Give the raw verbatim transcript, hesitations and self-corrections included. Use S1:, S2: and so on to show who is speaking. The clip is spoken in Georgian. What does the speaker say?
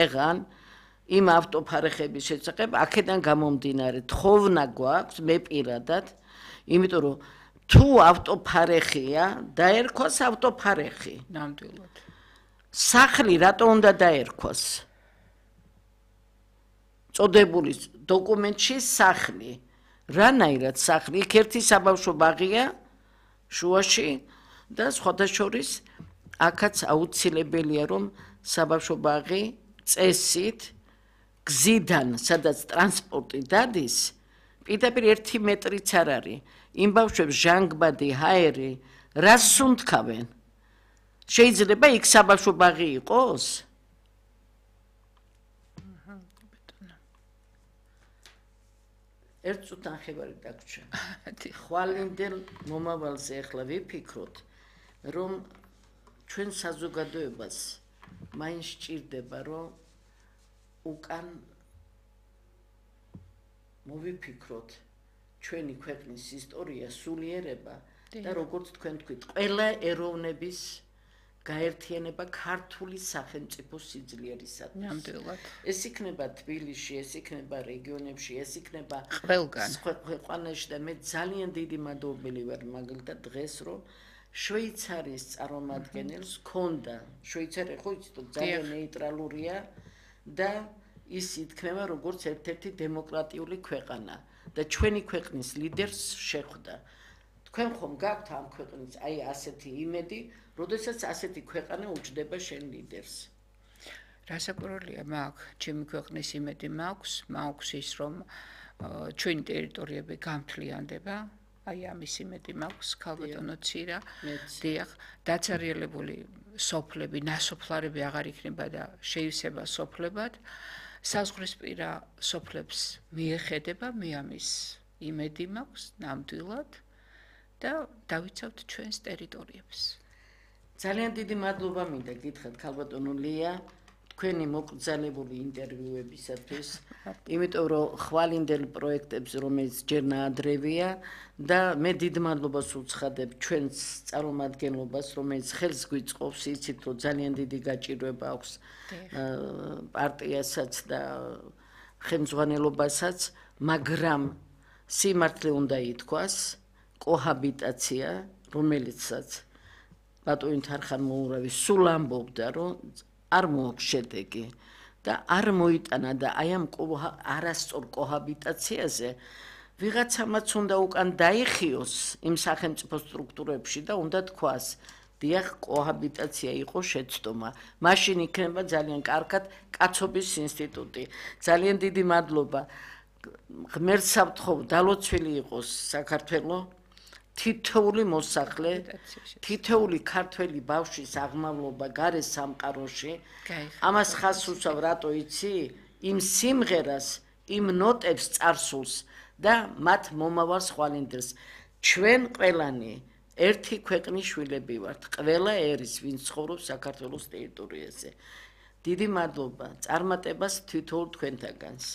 S1: եղան იმ ავტოფარეხების შესახებ აქედან გამომდინარე თხოვნა გვაქვს მე პირადად იმიტომ რომ თუ ავტოფარეხია დაერქვას ავტოფარეხი
S2: ნამდვილად
S1: სახლი რატო უნდა დაერქვას წოდებული დოკუმენტში სახლი რანაირად სახლი იქ ერთი საბავშვო ბაღია შუაში და სხვათა შორის აქაც აუცილებელია რომ საბავშვო ბაღი წესით გზიდან სადაც ტრანსპორტი დადის პირდაპირ ერთი მეტრიც არ არის იმ ბავშვებს ჟანგბადი ჰაერი რას სუნთქავენ შეიძლება იქ საბავშვო ბაღი იყოს ერთ წუთი ნახევარი დაგვრჩა ხვალინდელ მომავალზე ახლა ვიფიქროთ რომ ჩვენ საზოგადოებას მაინც სჭირდება რომ უკან მოვიფიქროთ ჩვენი ქვეყნის ისტორია სულიერება და როგორც თქვენ თქვით ყველა ეროვნების გაერთიანება ქართული სახელმწიფო სიძლიერისათვის
S2: ნამდვილად
S1: ეს იქნება თბილისში ეს იქნება რეგიონებში ეს იქნება
S2: ყველგან
S1: ქვეყანაში და მე ძალიან დიდი მადლობელი ვარ მაგალითად დღეს რომ შვეიცარიის წარმომადგენელს ქონდა შვეიცარია ხო იცით ძალიან ნეიტრალურია და ის ითქმება როგორც ერთ-ერთი დემოკრატიული ქვეყანა და ჩვენი ქვეყნის ლიდერს შეხვდა თქვენ ხომ გაქვთ ამ ქვეყნის აი ასეთი იმედი როდესაც ასეთი ქვეყანა უჯდება შენ ლიდერს
S2: რასაკვირველია მაქვს ჩემი ქვეყნის იმედი მაქვს მაქვს ის რომ ჩვენი ტერიტორიები გამთლიანდება აი ამის იმედი მაქვს ქალბატონო ცირა დიახ დაცარიელებული სოფლები ნასოფლარები აღარ იქნება და შეივსება სოფლებად საზღვრისპირა სოფლებს მიეხედება მე ამის იმედი მაქვს ნამდვილად და დავიცავთ ჩვენს ტერიტორიებს
S1: ძალიან დიდი მადლობა მინდა გითხრათ ქალბატონო ლია თქვენი მოკრძალებული ინტერვიუებისათვის იმიტომ რომ ხვალინდელ პროექტებს რომელიც ჯერ ნაადრევია და მე დიდ მადლობას უცხადებ ჩვენს წარმომადგენლობას რომელიც ხელს გვიწყობს იცით რომ ძალიან დიდი გაჭირვება აქვს პარტიასაც და ხელმძღვანელობასაც მაგრამ სიმართლე უნდა ითქვას კოჰაბიტაცია რომელიცაც ბატონი თარხან მოურავი სულ ამბობდა რომ არ მოაქვს შედეგი და არ მოიტანა და აი ამ არასწორ კოჰაბიტაციაზე ვიღაცამაც უნდა უკან დაიხიოს იმ სახელმწიფო სტრუქტურებში და უნდა თქვას დიახ კოჰაბიტაცია იყო შეცდომა მაშინ იქნება ძალიან კარგად კაცობის ინსტიტუტი ძალიან დიდი მადლობა ღმერთს ავთხოვ დალოცვილი იყოს საქართველო თითოეული მოსახლე თითოეული ქართველი ბავშვის აღმავლობა გარე სამყაროში ამას ხაზს უსვავ რატო იცი იმ სიმღერას იმ ნოტებს წარსულს და მათ მომავალ ხვალინდელს ჩვენ ყველანი ერთი ქვეყნის შვილები ვართ ყველა ერის ვინც ცხოვრობს საქართველოს ტერიტორიაზე დიდი მადლობა წარმატებას თითოეულ თქვენთაგანს